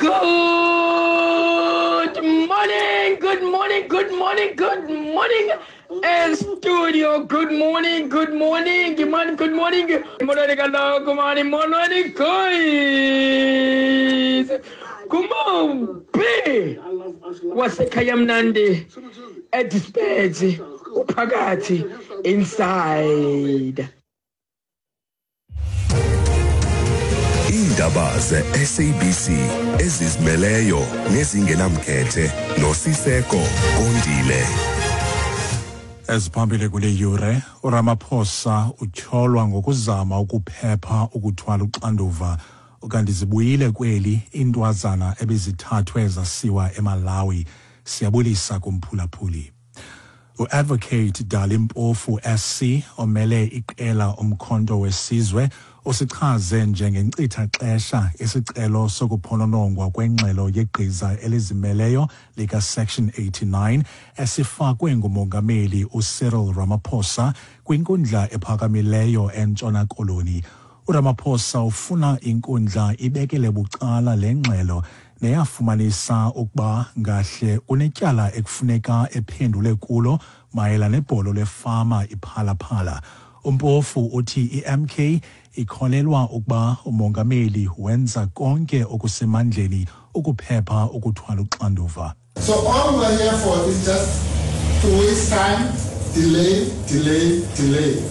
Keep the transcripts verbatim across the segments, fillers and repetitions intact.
Good morning, good morning, good morning, good morning. And studio, good morning, good morning, good morning, good morning. Molweni kaloku mani, molweni guys. Kumombi wasekhaya mnandi edispatch uphakathi inside. Iindaba ze-S A B C ezizimeleyo nezingenamkhethe noSiseko Kondile. Eziphambili kule yure: uRamaphosa utyholwa ngokuzama ukuphepha ukuthwala uxanduva, ukanti zibuyile kweli iintwazana ebezithathwe zasiwa eMalawi. Siyabulisa kumphulaphuli. U-Advocate Dali Mpofu S C, omele iqela Umkhonto Wesizwe, usichaze njengenkcitha-xesha isicelo sokuphononongwa kwengxelo yegqiza elizimeleyo lika-Section eighty-nine esifakwe ngumongameli uCyril Ramaphosa kwinkundla ephakamileyo eNtshona Koloni. URamaphosa ufuna inkundla ibekele bucala le ngxelo neyafumanisa ukuba ngahle unetyala ekufuneka ephendule kulo mayela nebholo lefama iPhala Phala. UMpofu uthi i-M K ikholelwa ukuba umongameli wenza konke okusemandleni ukuphepha ukuthwala uxanduva. So all we're here for is just to waste time, delay, delay, delay,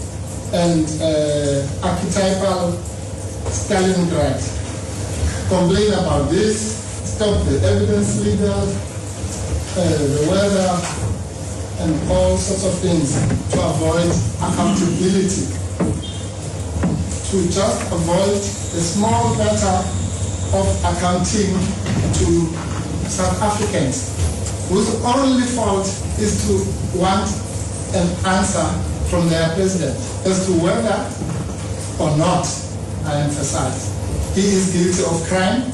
and uh, archetypal Stalingrad. Complain about this, stop the evidence leader, uh, the weather, and all sorts of things to avoid accountability. To just avoid the small matter of accounting to South Africans, whose only fault is to want an answer from their president as to whether or not, I emphasize, he is guilty of crime.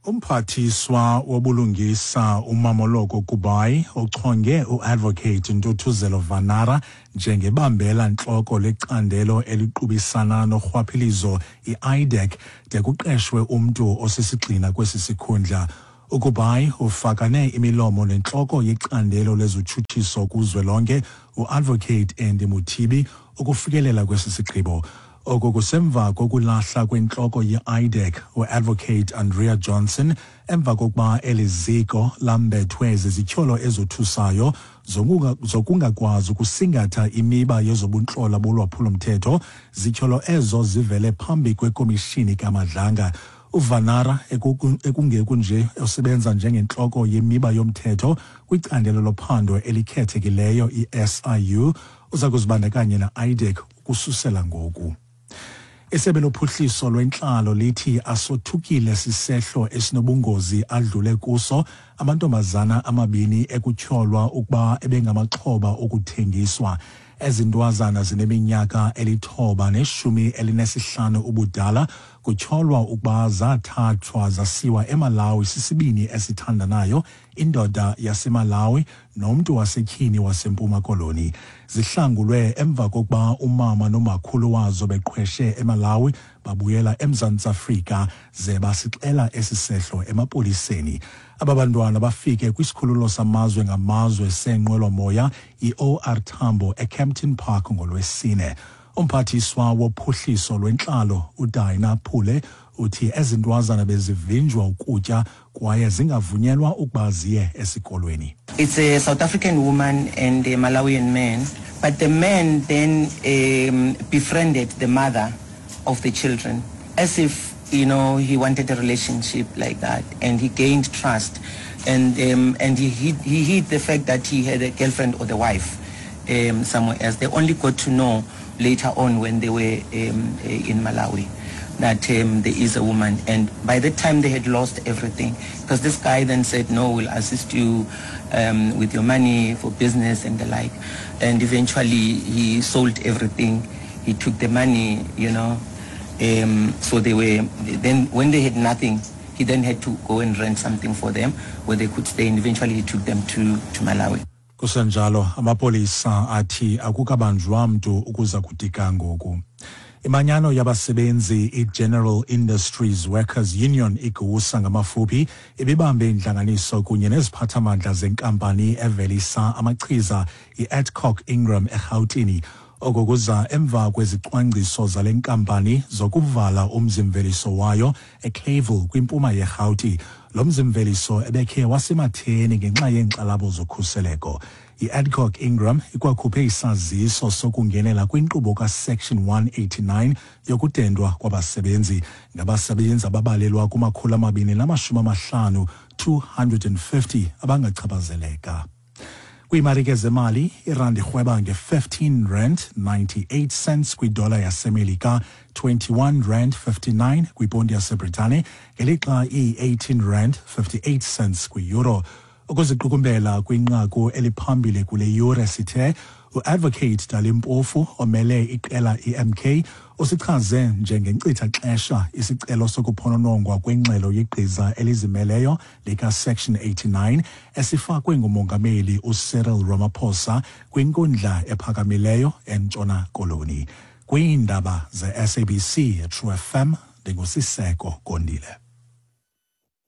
Umphathiswa wobulungisa uMamoloko Kubayi uchonge uAdvocate Ntuthuzelo Vanara njengebambela ntloko lecandelo eliqubisana norhwaphilizo i-IDAC de kuqeshwe umntu osisigxina kwesi sikhundla. UKubayi ufakane imilomo nentloko yecandelo lezotshutshiso kuzwelonke uAdvocate Andy Mothibi ukufikelela kwesi sigqibo. Oku kusemva kokulahla kwentloko ye-IDAC uAdvocate Andrea Johnson emva kokuba eli ziko lambethwe zizityholo ezothusayo zokungakwazi ukusingatha imiba yezobuntlola bolwaphulo-mthetho, zityholo ezo zivele phambi kwekomishini kaMadlanga. UVanara, ekungeku nje osebenza njengentloko yemiba yomthetho kwicandelo lophando elikhethekileyo i-S I U, uza kuzibandakanya ne-IDAC ukususela ngoku. Isebe lophuhliso lwentlalo lithi asothukile sisehlo esinobungozi adlule kuso amantombazana amabini ekutyholwa ukuba ebengamaxhoba okuthengiswa. Ezi ntwazana zineminyaka elithoba neshumi elinesihlanu ubudala kutyholwa ukuba zathathwa zasiwa eMalawi sisibini esithandanayo, indoda yaseMalawi nomntu wasetyhini waseMpuma Koloni. Zihlangulwe emva kokuba umama nomakhulu wazo beqhweshe eMalawi babuyela eMzantsi Afrika ze basixela esi sehlo emapoliseni. Aba bantwana bafike kwisikhululo samazwe ngamazwe seenqwelomoya i-O R Tambo eKempton Park ngoLwesine. Umphathiswa wophuhliso lwentlalo uDinah Pule uthi ezi ntwazana bezivinjwa ukutya kwaye zingavunyelwa ukuba ziye esikolweni. It's a South African woman and a Malawian man, but the man then um, befriended the mother of the children as if you know he wanted a relationship like that, and he gained trust, and um, and he hid, he hid the fact that he had a girlfriend or the wife um, somewhere else. They only got to know later on when they were um, in Malawi that um, there is a woman, and by the time they had lost everything, because this guy then said, "No, we'll assist you um, with your money for business and the like," and eventually he sold everything. He took the money, you know. Um, so they were then when they had nothing, he then had to go and rent something for them where they could stay, and eventually he took them to, to Malawi. Kusenjalo, amapolisa athi akukabanjwa mntu ukuza kuthi ga ngoku. Imanyano yabasebenzi i-General Industries Workers Union, iGIWUSA ngamafuphi, ibibambe intlanganiso kunye neziphathamandla zenkampani evelisa amachiza i-Adcock Ingram eRhawutini. Oko kuza emva kwezicwangciso zale nkampani zokuvala umzimveliso wayo eClayville kwimpuma yeRhawuti. Lo mzimveliso ebekhe wasematheni ngenxa yeenkxalabo zokhuseleko. I-Adcock Ingram ikwakhuphe isaziso sokungenela kwinkqubo kaSection one eighty-nine yokudendwa kwabasebenzi, ngabasebenzi ababalelwa kumakhulu amabini namashumi amahlanu, two hundred and fifty, abangachaphazeleka. Kwiimarike zemali, irandi irhweba nge-fifteen rand ninety-eight cents kwidola yaseMelika, twenty-one rand fifty-nine kwiponti yaseBritane, ngelixa iyi-eighteen rand fifty-eight cents kwi-euro. Ukuziqukumbela kwinqaku eliphambili kule yure sithe u-Advocate Dali Mpofu omele iqela i-M K usichaze njengenkcitha xesha isicelo sokuphononongwa kwengxelo yegqiza elizimeleyo lika-Section eighty-nine esifakwe ngumongameli uCyril Ramaphosa kwinkundla ephakamileyo eNtshona Koloni. Kwiindaba ze-S A B C True F M, ndinguSiseko Gondile.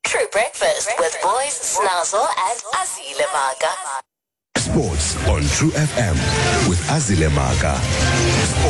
True Breakfast with Boys, Snazzle and Azile Maka. Sports on True F M with Azile Maka.